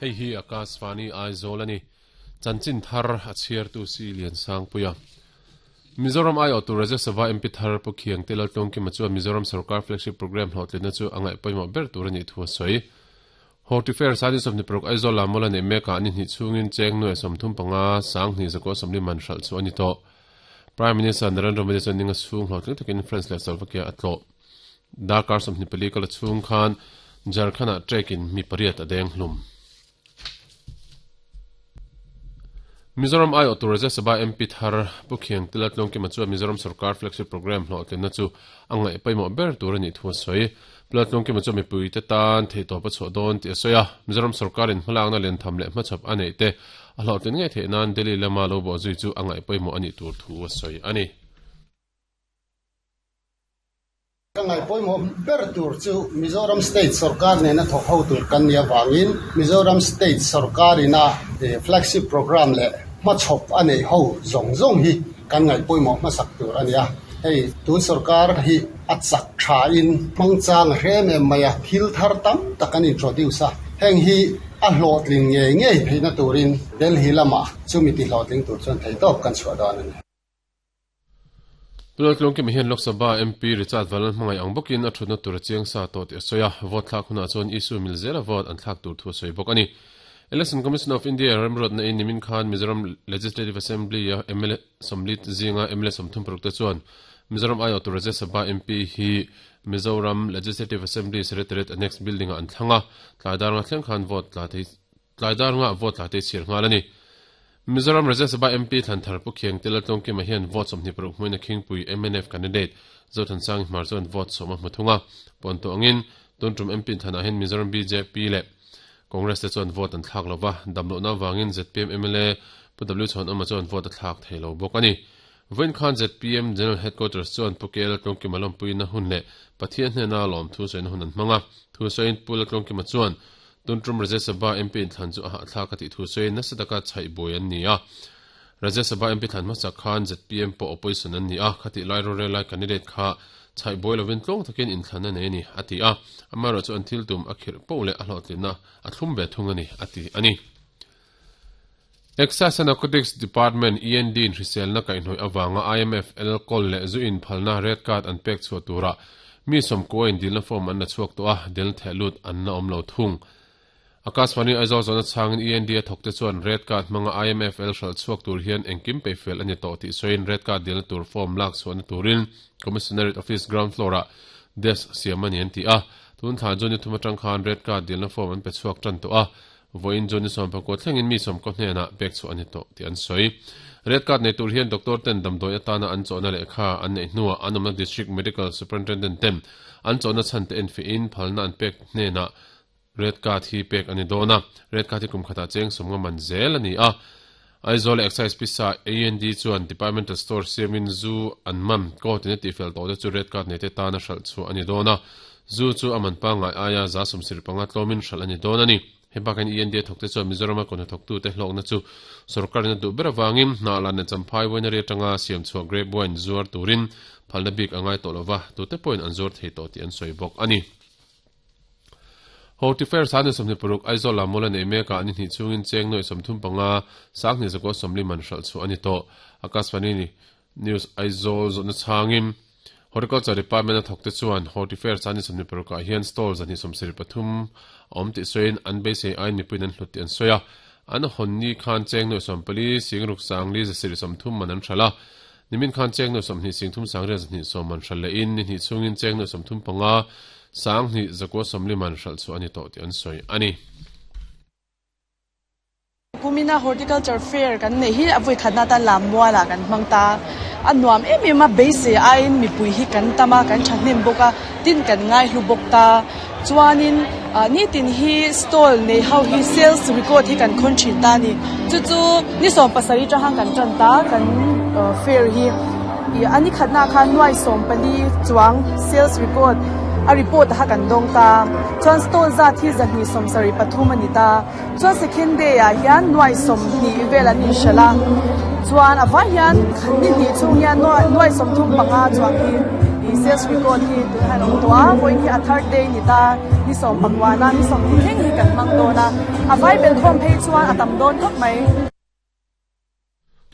Hei hi Akashvani Aizawl a ni. Chanchin thar a chhiartu si Liansangpuia. Mizoram aiawhtu Rajya Sabha MP thar Pu Khiangte Laltlawngkima chuan Mizoram Sorkar Flagship Programme hlawhtlinna chu a ngaih pawimawh ber tur a nih thu a sawi. Hortifair Sani 26 Aizawl ah mawla neih mekah ni hnih chhungin cheng nuai 35 2140 man hralh chu a ni tawh. Prime Minister Narendra Modi chuan ninga chhung hlawhtling takin France leh Slovakia a tlawh. Darkar 24 kal a chhung khan Jharkhand-ah trek-in mi pariat a deng hlum. Mizoram aiawhtu Rajya Sabha MP thar Pu Khiangte Laltlawngkima chuan Mizoram sorkar flagship programme hlawhtlinna chu a ngaih pawimawh ber tur a nih thu a sawi. Pu Laltlawngkima chuan mipuite tan theihtawp a chhuah dawn tih a sawi a, Mizoram sorkarin hmalakna lentham leh hmachhawp a neih te a hlawhtlin ngei theih nan Delhi lama lo bawhzui chu a ngaih pawimawh a nih tur thu a sawi a ni. Ka ngaih pawimawh ber tur chu Mizoram State sorkar nena thawk ho tur kan nih avangin Mizoram State sorkarina flagship programme leh hmachhawp a neih ho zawng zawng hi kan ngaih pawimawh hmasak tur a ni a. Hei tun sorkar hi a chak thain hmangchang a hre em em mai a, thil thar tam tak an introduce a, heng hi a hlawhtling ngei ngei theihna turin Delhi lamah chumi tihlawhtling tur chuan theihtawp kan chhuah dawn a ni. Laltlawngkima hian Lok Sabha MP Richard Valan hmangaih ang bawkin a thutna tur a chiang sa tawh tih a sawi a, vote thlak hunah chuan issue mil zela vote an thlak tur thu a sawi bawk a ni. Election Commission of India remruatna in nimin khan Mizoram Legislative Assembly a mla 40 zinga mla 36 te chuan Mizoram aiawhtu Rajya Sabha MP hi Mizoram Legislative Assembly Secretariat Annex Building ah an thlang a, tlai dar nga thleng khan vote tla thei Tlai dar ngah vote la te chhir nghal a ni. Mizoram Rajya Sabha MP Thlanthar Pu Khiangte Laltlawngkima hian vote 26 hmuin a khingpui mnf candidate Zothansangi Hmar chuan vote sawm a hmu thung a. Pawn tawh angin tun tum MP Thlanah hian Mizoram bjp leh Congress te chuan vote an thlak lo va, damlohna avangin zpm mla Pu W Chhawnawma chuan vote a thlak thei lo bawk a ni. Vawiin khan zpm General Headquarters chuan Pu K Laltlawngkima lawmpuina hun leh Pathian hnena lawmthu sawina hun an hmang a. Thusawiin Pu Laltlawngkima chuan Tuntrum Rajya Sabha MP inthlan chu a hahthlak a tih thu sawiin nasa taka chhaih buai an ni a. Rajya Sabha MP thlan hmasak khan zpm pawh opposition an ni a, khatih lai rorel lai candidate kha chhaih buai lovin tlawng takin inthlan a nei a ni, a ti a. Amaherawhchu an thil tum a khirh poh leh a hlawhtlinna a thlum ve thung a ni, a ti a ni. Excise and Narcotics Department, END, in hriselna kaihhnawih avanga IMF, alcohol leh zu inphalna red card an pek chhuah turah mi sawmkua in dilna form an la chhuak tawh a, del theh lut an la awm lo thung. Akashvani Aizawl zawhna chhangin END a thawkte chuan red card hmanga IMFL hralh chhuak tur hian engkim peihfel a ni tawh tih sawiin red card dilna tur form lak chhuahna turin Commissionerate Office ground floor-ah desk siam a ni an ti a. Tun thla June ni thum atang khan red card dilna form an pe chhuak tan tawh a, Vawiin chu ni sawmpakua thlengin mi sawmkaw hnenah pek chhuah a ni tawh tih an sawi. Red card nei tur hian doctor ten damdawi atana an chawhna lehkha an neih hnuah an awmna District Medical Superintendent ten an chawhna chhan te enfiahin phalna an pek hnenah red card hi pek a ni dawn a. Red card hi kum khatah cheng sawmnga man zel a ni a. Aizawl Excise pisa AND chuan Departmental Store siamin zu an man court in a tihfel tawh te chu red card nei te tana hralh chhuah a ni dawn a. Zu chu a man pangngai aia 75 tlawmin hralh a ni dawn a ni. Hei bakah hian END a thawkte chuan Mizorama kawhnathawktute hlawkna chu sorkarin a duh ber avangin hnah lan leh champhai winery atanga siam chhuah grape wine zuar turin phalna bik a ngai tawh lova, tute pawhin an zuar thei tawh tih an sawi bawk a ni. Hortifair 26 Aizawl ah mawla nei mekah ni hnih chhungin cheng nuaih 35 2140 man hralh chhuah a ni tawh. Akashvani News Aizawl zawhna chhangin Horticulture Department a thawkte chuan Hortifair 26 ah hian stall 173 a awm tih sawiin an beisei aiin mipuiin an hlut tih an sawi a. An hawn ni khan cheng nuaih 14 singruk sangli 130 man an hralh a. Nimin khan cheng nuaih 20 singthum sangriat 220 man hralh lehin ni hnih chhungin cheng nuaih 35 sanghnih 140 man hralh chhuah a ni tawh tih an sawi a ni. Kumina Horticulture Fair kan neih hi a vawi khatna atan Lammualah kan hmang ta. A nuam em em a, beisei aiin mipui hi kan tam a, kan thahnem bawk a, tin kan ngaihlu bawk ta. Chuanin nitin hi stall nei ho hi sales record hi kan khawn thin ta a ni. Chu chu ni 17 atang khan kan tan ta kan fair hi. A ni khatna khan nuai 14 chuang sales record a report kha kan dawng ta. Chuan stall zat hi 273 a ni ta. Chuan second day ah hian nuai 20 vel an inhralh a, chuan a vai hian ni hnih chhung hian nuai 35 chuang hi. Sales record hi tunah hian a awm tawh a, vawiin hi a third day ni ta, ni sawmpakuana ni sawmhnih thleng hi kan hmang dawn a, a vai bel khawm phei chuan a tam dawn khawp mai.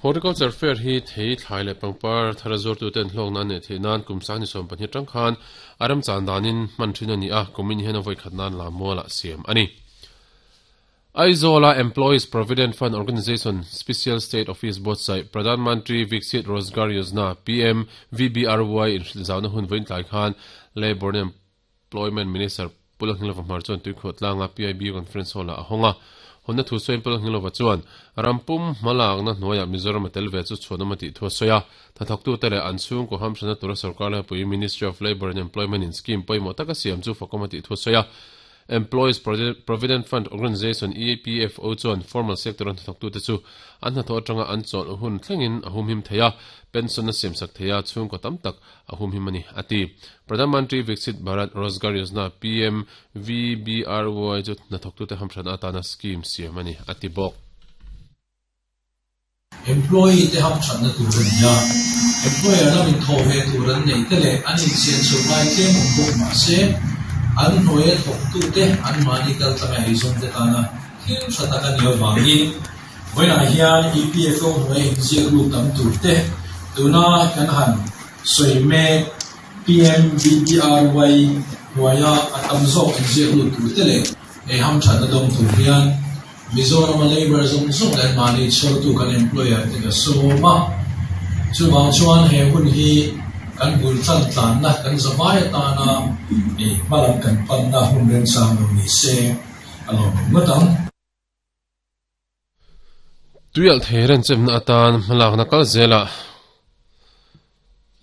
Horticulture Fair hi thei, thlai leh pangpar thar a zuartuten hlawkna an neih theih nan kum sang ni 12 atang khan a remchan danin hman thin a ni a, kumin hian a vawikhat nan Lammualah siam a ni. Aizawl-a Employees Provident Fund Organisation Special State Office buatsaih Pradhan Mantri Viksit Rozgar Yojana, PMVBRY, inhrilhzauna hun vawiin tlai khan Labour and Employment Minister Pu Lalhnilova Hmar chuan Tuikhuah tlanga PIB Conference Hall-ah a hawng a. Hawnna thu sawiin Pu Lalhnilova chuan ram pum hmalakna hnuaiah Mizoram a tel ve chu chhuanawm a tih thu a sawi a. Hnathawktute leh an chhungkaw hamhranna tura sorkar laipui Ministry of Labour and Employment in scheme pawimawh taka siam chu fakawm a tih thu a sawi a. Employees Provident Fund Organisation, EPFO, chuan formal sector-a hnathawktute chu an hnathawh atanga an chawlh hun thlengin a humhim thei a, pension a siamsak thei a, chhungkaw tam tak a humhim a ni, a ti. Pradhan Mantri Viksit Bharat Rozgar Yojana, PMVBRY, chu hnathawktute hamhranna atana scheme siam a ni, a ti bawk. Employee te hamthatna tur a ni a, employer lamin thawh ve tur an neih te leh an insian chho ngai tlem awm bawk mah se, an hnuaia thawktute anmahni kaltlanga eizawn te tana thil tha tak a nih avangin vawiinah hian EPFO hnuaia inziak lut tam tur te tuna kan han sawi mek PMBBRY hnuaia a tam zawk inziak lut tur te leh ei hamthatna dawng tur hian Mizorama labour zawng zawng leh mahni chhawrtu kan employer te ka sawm a, chuvang chuan he hun hi kan bul tan tlanna kan zavai atana hmalam kan panna hun remchang lo ni se a lawmawm ngawt ang. Tuialh thei renchemna atan hmalakna kal zelah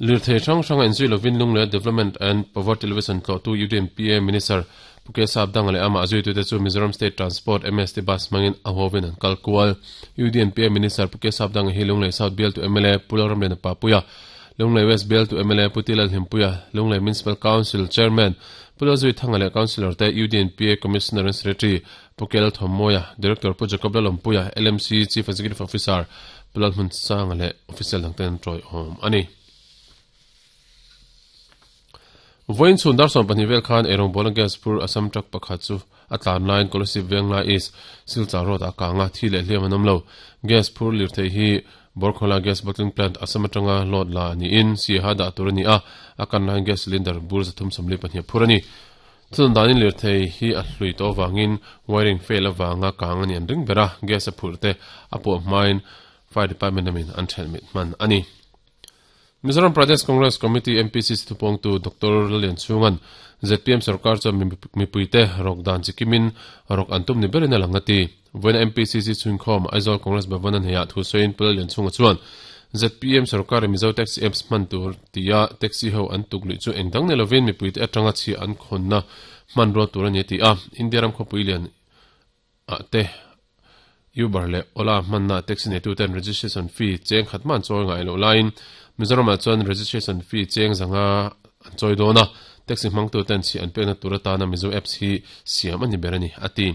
Lirthei hrang hranga inzui lovin Lunglei Development and Poverty Alleviation tlawhtu UDMPA Minister Pu Kesap Danga leh amah zuitute chu Mizoram State Transport, MST, Bus hmangin a huavin an kal kual. UDMPA Minister Pu Kesap Danga hi Lunglei South bialtu mla Pu Lalramliana Papuia, Lunglei West bialtu mla Pu Tilal Hlimpuia, Lunglei Municipal Council Chairman Pu Lalzui Thanga leh Councillor te UDNPA Commissioner and Secretary Pu Kel Thawmmawia, Director Pu Jacob Lalawmpuia, LMC Chief Executive Officer Pu Lalhmunsanga leh Official dangte an tawiawm a ni. Vawiin chhun dar 12 vel khan eirawngbawlna gas phur Assam truck pakhat chu a tlan laiin Kolasib Venglai East Silchar Road ah a kang a, thi leh hliam an awm lo. Gas phur lirthei hi Borkhola Gas Bottling Plant Assam atanga load la niin Siaha dah tur a ni a, a kan laiin gas cylinder bur 342 a phur a ni. Chutah danin lirthei hi a hlui tawh avangin wiring fail avanga kang a ni an ring ber a, gas a phurh te a puah hmain Fire Department lamin an ṭhelh mit hman a ni. Mizoram Pradesh Congress Committee, MPCC, thupawngtu Doctor Lallianchhunga'n zpm sorkar chuan mipuite rawk dan chi kimin rawk an tum ni berin a lang a ti. Vawiina MPCC chhunkhawm Aizawl Congress Bhavan a hneihah thu sawiin Pu Lallianchhunga chuan zpm sorkarin Mizo Taxi Apps hman tur tia taxi ho an tuk luih chu engdang nei lovin mipuite atanga chhiah an khawnna hmanrua tur a ni a ti a. India ram khawpui lian ah te Uber leh Ola hmanna taxi neituten registration fee cheng khat hma an chawi ngai loh laiin Mizoramah chuan registration fee cheng zanga an chawi dawn a, taxi hmangtuten chhiah an pekna tur atana Mizo Apps hi siam a ni ber a ni a ti.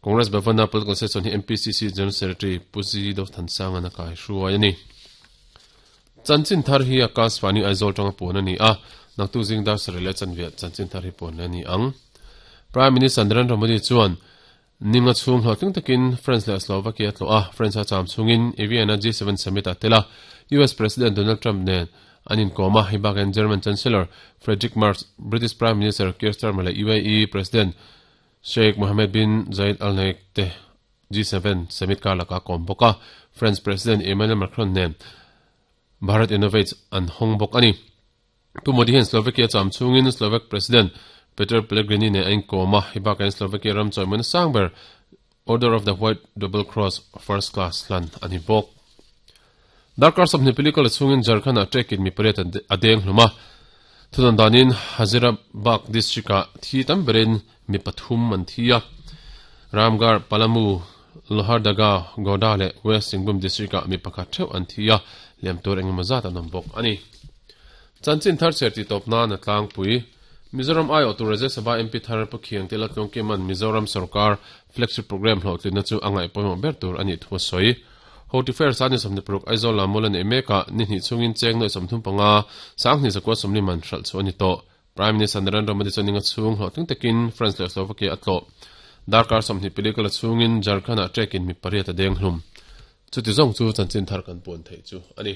Congress Bhavana Political Session hi MPCC General Secretary Pu Zi Dothansanga'n a kaihruai a ni. Chanchin thar hi Akashvani Aizawl tanga puan a ni a, naktuk zing dar sarih leh chanve chanchin thar hi puan leh a ni ang. Prime Minister Narendra Modi chuan ninga chhung hlawhtling takin France leh Slovakia a tlawh a, France a cham chhungin Vienna G7 Summit ah tel a, US President Donald Trump nen an inkawm a, hei bakin German Chancellor Friedrich Merz, British Prime Minister Keir Starmer leh UAE President Sheikh Mohammed bin Zayed Al Nahyan te G7 summit kar lakah a kawm bawk a, French President Emmanuel Macron nen Bharat Innovates an hawng bawk a ni. Pu Modi hian Slovakia cham chhungin Slovak President Peter Pellegrini nen a inkawm a, hei bakah hian Slovakia ram chawimawina sang ber Order of the White Double Cross First Class hlan a ni bawk. Darkar 20 pali kal chhungin Jharkhand-ah trekin mi pariat a deng hlum a, thudawn danin Hazaribagh district-ah thi tam berin mi pathum an thi a. Ramgarh, Palamu, Lohardaga, Godda leh West Singhbhum district-ah mi pakhat theuh an thi a, hliam tur engemaw zat an awm bawk a ni. Chanchin thar chher tih tawp nan a tlangpui. Mizoram aiawhtu Rajya Sabha MP thar Pu Khiangte Laltlungkima'n Mizoram sorkar flagship programme hlawhtlinna chu a ngaih pawimawh ber tur a nih thu a sawi. Horti Fair Sangni 26 Aizawl Lammual a neih mekah ni hnih chhungin cheng nuaih 35 Sanghnih zakua 40 man hralh chhuah a ni tawh. Prime Minister Narendra Modi chuan ninga chhung hlawhtling takin France leh Slovakia a tlawh. Darkar 20 pili kal a chhungin Jharkhand-ah trekin mi pariat a deng hlum. Chuti zawng chu chanchin thar kan puan theih chu a ni.